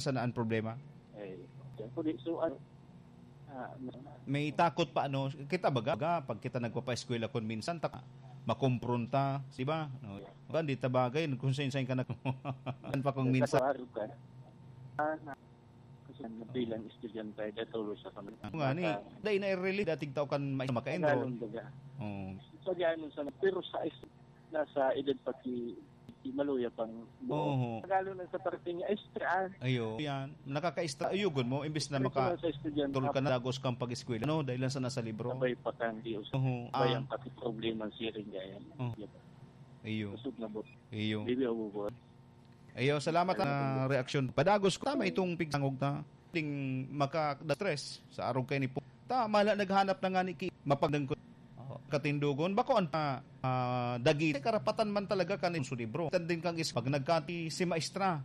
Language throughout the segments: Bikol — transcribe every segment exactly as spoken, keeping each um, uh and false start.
Sana ang problema. Eh, kaya po di, so, ano, ah, may takot pa, ano, kita baga, baga, pag kita nagpapaeskwela kun minsan, ta-, makompronta, di ba? No? Ba, di ta bagay, kung sain-sain ka na, pa kung minsan. Sa araw ka, ah, na, kasi bilang estudyante, datulo sa pamilya. Nga ni, dahil na-relate, dating tao kan may makain, Tagalog, no? Baga. Oo. So, di, ano, sa, pero sa is-, nasa edad pa ki-, ki-, maluya pang buo. Oo. Tagalog na sa parte niya, extra, ah. Ayo, yan. Nakaka-extra. Ayo, good mo. Imbis na Pero maka-, sa estudyante, tulog ka na, dagos kang pag-eskwela. No, dahil lang sa nasa libro. Sabay pa kang di us-, Oo. sabay Ah. ang pati problema siya rin, kaya. Oo. Yun. Iyo. Busog na bot. Iyo. Bibi, abubuan. Iyo, salamat Ano na itong reaksyon. Padagos ko, tama itong pigsangog ta. Ding maka-stress sa arog kay ni po. Ta, mala naghanap na nga ni ki-, mapagdang ko. Oo. Katindogon, bako ang, ah, ah, dagiti karapatan man talaga kan su libro. Tan din kang is-, pag nagkati si maestra.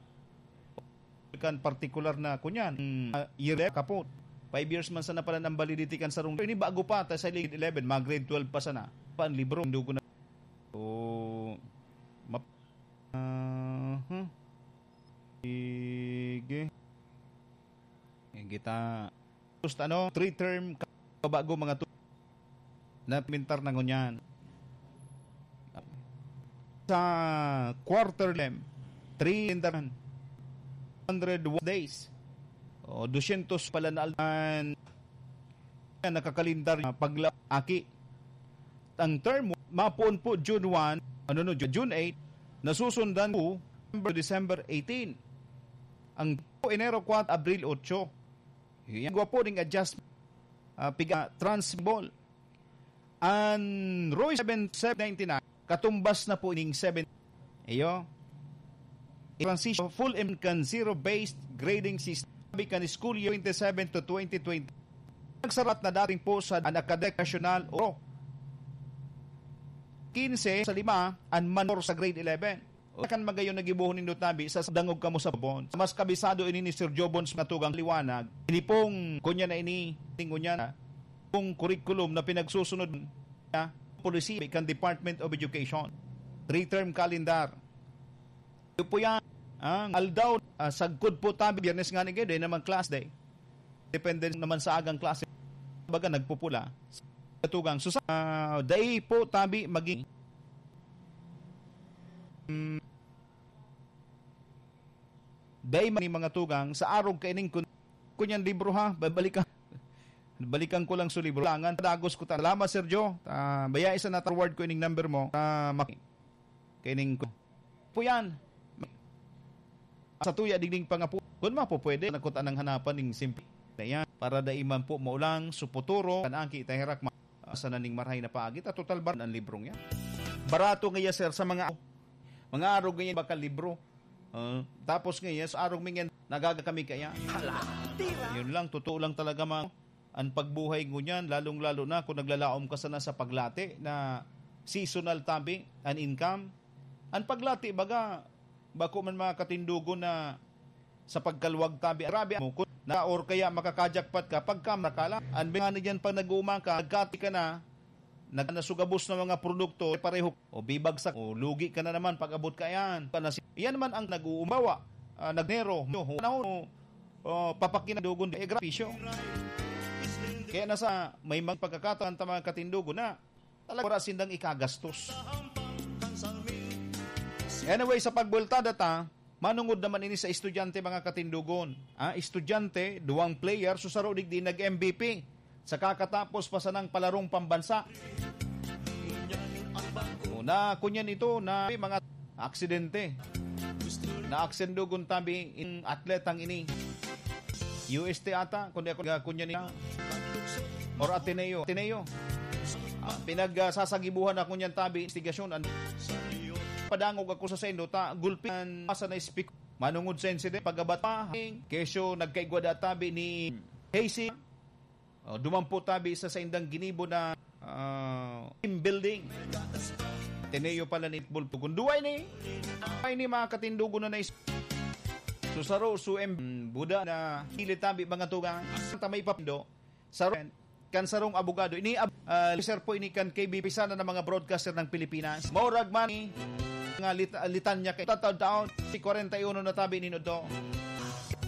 Kan partikular na, kunyan, mm, ah, year kapot. Five years man sana pala ang validity kan sarong. Ini bago pa, ta sa grade eleven, mga grade twelve pa sana. Pa ang libro, tindogon na. So, map-, ah, hmm. Sige. Sige ta. Gusto, ano, three term, bago mga tu-, na implementar na ngunyan. Sa quarter lem, three term, hundred days. O, dosyentos pala na al-, an-, nakakalendar na pagla-, aki. Ang term, mapoon po June one, ano no, June eight, nasusundan po December, December eighteen. Ang Enero kwatro, Abril otso. Yan gwapo ning adjustment, ah, piga transmissible. An Roy seven, seven ninety-nine, katumbas na po ning seven. Iyo. Transition, full im-, kan zero-based grading system. Sabi kan school year twenty-seven to twenty twenty. Nagsarat na dating po sa an academic national o quince sa lima, an manor sa grade eleven. O kan magayon na gibohon nindo tabi sa dangog kamo sa Bons. Mas kabisado ini ni Sir Jobons matugang liwanag. Ini pong kunya na ini, tingon niya na, pong curriculum na pinagsusunod niya, policy kan Department of Education. Three-term calendar. Ito po yan. Ang aldaw, ah, sagkod po tabi, Biyernes nga ni Gede, naman class day. Depende naman sa agang klase. Baga nagpupula. Katugang. So, sa, ah, dai po tabi maging, mm, dai man ni mga tugang sa arog kaining kun-, kunyan libro ha, babalikan. Balikan ko lang sa libro. Langan, padagos ko ta. Salamat, Sir Joe. Ah, baya isa na ta-reward ko ining number mo. Ah, mak-, kaining ko. Po yan. Sa tuya digding pangapu. Kun mapupwede, nakutan ang hanapan ning simpi na yan. Para dai man po maulang, suputuro, kan angki, itaherak ma-, asa na ning marahay na paagi, ta total bar ang librong yan. Barato nga iya, sir, sa mga, mga arog nga yan, bakal libro. Ah, tapos nga yan, sa arog nga yan, nagaga kami kaya. Hala, tira! Yun lang, totoo lang talaga, mga, ang pagbuhay ngunyan, lalong-lalo na kung naglalaom ka sana sa paglati na seasonal tabi, an income. An paglati, baga, bako man mga katindogon na sa pagkaluwag tabi, grabe mo, kun-, na, or kaya makakajakpat ka, pagka makala. An bingani dyan, pag nag-uuma ka, nagkati ka na, nag-, nasugabos na mga produkto, pareho, o bibagsak, o lugi ka na naman pag abot ka yan. Panasi-, yan man ang nag-uumbawa, ah, nagnero, no, no, o, papakindogon, eh, grapisyo. Kaya nasa, may mga pagkakataon ta mga katindogon na talaga wala sindang ikagastos. Anyway, sa pagbultada ta, manungod naman ini sa estudyante, mga katindogon. Ah, estudyante, duwang player, so saro digdi nag-M V P. Sa kakatapos pa sanang palarong pambansa. O, na, kunyan ito na mga aksidente. Na aksendogon tabi in atletang ini. U S T ata, kundi ako nga kunyan niya. Or Ateneo. Ateneo. Ah, pinag, ah, sasagibuhan ako niyan tabi, investigasyon. An-, padangog ako sa sendo, ta, gulpi an masa na speak. Manungod sa insidente, pagabat pa, kesyo nagkaigwa da tabi ni Casey. O, dumampo tabi sa saindang ginibo na, ah, team building. Ateneo pala ni Bulto. Kung duway ni, ay ni mga katindogon na nais-, so, saro, so, em, buda na hili tabi mga tugang. Sa may papindo, sa kan sarong abogado. Ini, ab-, ah, sir po ini kan K B P, sana ng mga broadcaster ng Pilipinas. Maurag man ni nga lit-, litanya kay tataon-taon, si kwarenta y uno na tabi ni Nodo.